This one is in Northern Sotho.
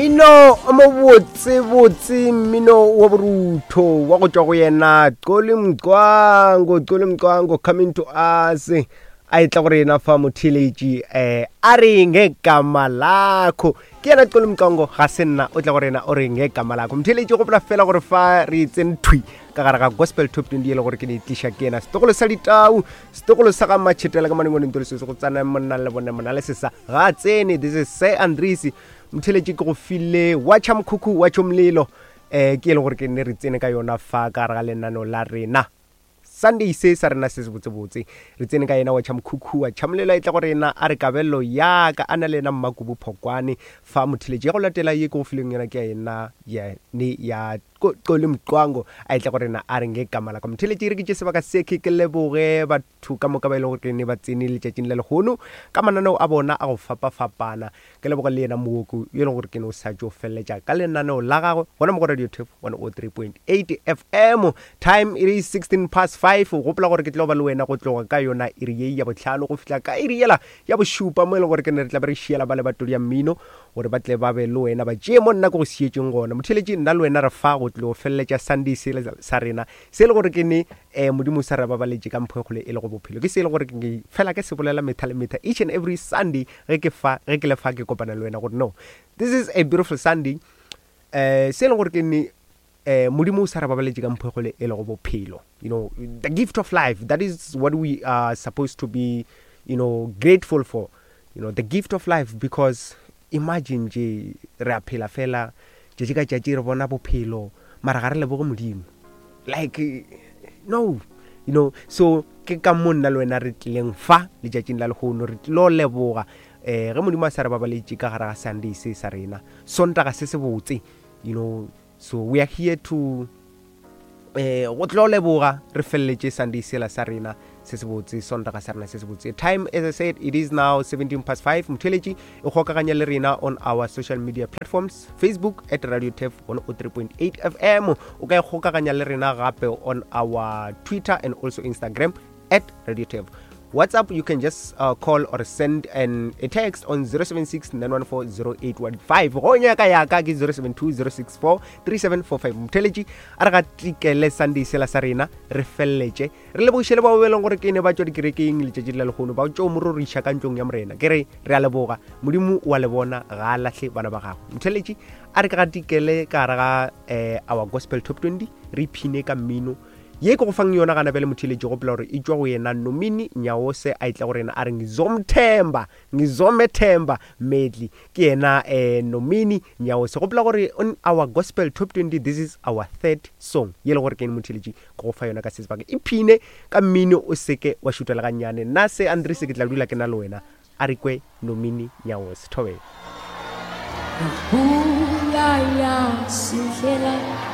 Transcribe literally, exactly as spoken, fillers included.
Mmino o mobotsebotse, mmino wa borutho wa go tšwa go yena Xoli Mcwango. Xoli Mcwango coming to us, a etla go rena fa motheeletši, um a re ngegama lakho. Ke yena Xoli Mcwango, ga se nna, o tla go rena o re ngegama lakho. Motheeletši, gopola fela gore fa re tsene thwi ka gare ga Gospel Top twenty, e le gore ke ne tliša ke yena setogolo sa ditau, setogolo sa ga matšhetela ka manengwaneng tole se go tsana monna le bone monna le sesa ga tsene. This is Sir Andries. Motheeletši, ke go file watšha mokhukhu wa tšho molelo, um ke e le gore ke ne re tsene ka yona fa ka gare ga lenaneo la rena Sunday se sa rena se se botsebotse. Re tsene ka yena wa tšha mokhukhu wa tšhamolelo, e tla go rena a re kabelo yaka, a na le yena Mmakubu Phokwane fa. Motheletši, ya go latela ye ke go fileng yona ke ya yena ne ya Xoli Mcwango, a e tla go rena a re ngegama laka. Motheletši, re ke tše sebaka se ke ke leboge batho ka moka ba e leng gore ke ne ba tsene letšatšing la lehono ka mananeo a bona a go fapafapana. Ke leboge le yena Mooko yo e leng gore ke ne o sa tšo feleletša ka lenaneo la gagwe gona mo go Radio Tef one oh three point eight F M. Time it is sixteen past five. Gopola gore ke tlo ba le wena go tloga ka yona iri ye ya botlhano go fihla ka iri yela ya bošupa, mo e leng gore ke ne re tla be re šiela ba le batodi ya mmino gore ba tle ba be le wena, ba tšee mo nna ke go sietšeng gona. Motheletši, nna le wena re fa go tlo feleletša Sunday se sa rena se e le gore ke ne um Modimo sa re babaletše ka mpho e kgolo e le go bophelo. Ke se e le gore ke fela ke se bolela metha le metha, each and every Sunday ge ke fa ge ke le fa ke kopana le wena, gore no, this is a beautiful Sunday, um se e leng gore ke ne um Modimo o sa re babaletše ka mpho e kgolo e le go bophelo, you know the gift of life. That is what we are supposed to be you know grateful for, you know the gift of life, because imagine je re a phela fela tšatši ka tšatši, re bona bophelo, mara ga re leboge Modimo. Like, no, you know so ke ka mo nna le wena re tlileng fa letšatšing la lehono, re tlilo leboga um ge Modimo a sa re babaletše ka gare ga Sunday se sa rena, Sontaga se se botse you know So we are here to eh go tlo leboga, re feleletše Sunday sela sa rena se se botse, Sontaga sa rena se se botse. Time, as I said, it is now seventeen past five. Motheletši, e kgokaganya le rena on our social media platforms: Facebook at Radio Tef one oh three point eight F M. O ka e kgokaganya le rena gape on our Twitter and also Instagram at Radio Tef. WhatsApp, you can just uh, call or send an, a text on zero seven six nine one four zero eight one five. Go nyaka yaka ke zero seven two zero six four three seven four five. Motheletši, a re ga tikele Sunday sela sa rena, re feleletše re lebogiše le bao be leng gore ke ne ba tšwa dikerekeng letšatši la lehono, ba tšo mororiša ka ntlong ya Morena. Ke re re a leboga, Modimo wa le bona, ga a lahle bana ba gagwe. Motheletši, a re ke ga tikele ka gare ga um our Gospel Top twenty, re iphine ka mmino ye ke go fang yona gana bjale. Motheletši, gopola gore e tšwa go yena Nomini Nyawose, a itla go rena a re ngizomthemba, ngizomethemba medley. Ke yena um Nomini Nyawose. Gopola gore on our Gospel Top twenty, this is our third song ye le gore ke ene motheletši ke go fa yona ka se sebaka. Iphine ka mmino, o seke wa šutela gannyane. Nna se Andres ke tla dula ke na le wena. A re kwe Nomini Nyawose. Thobela. Pula ya sihlela.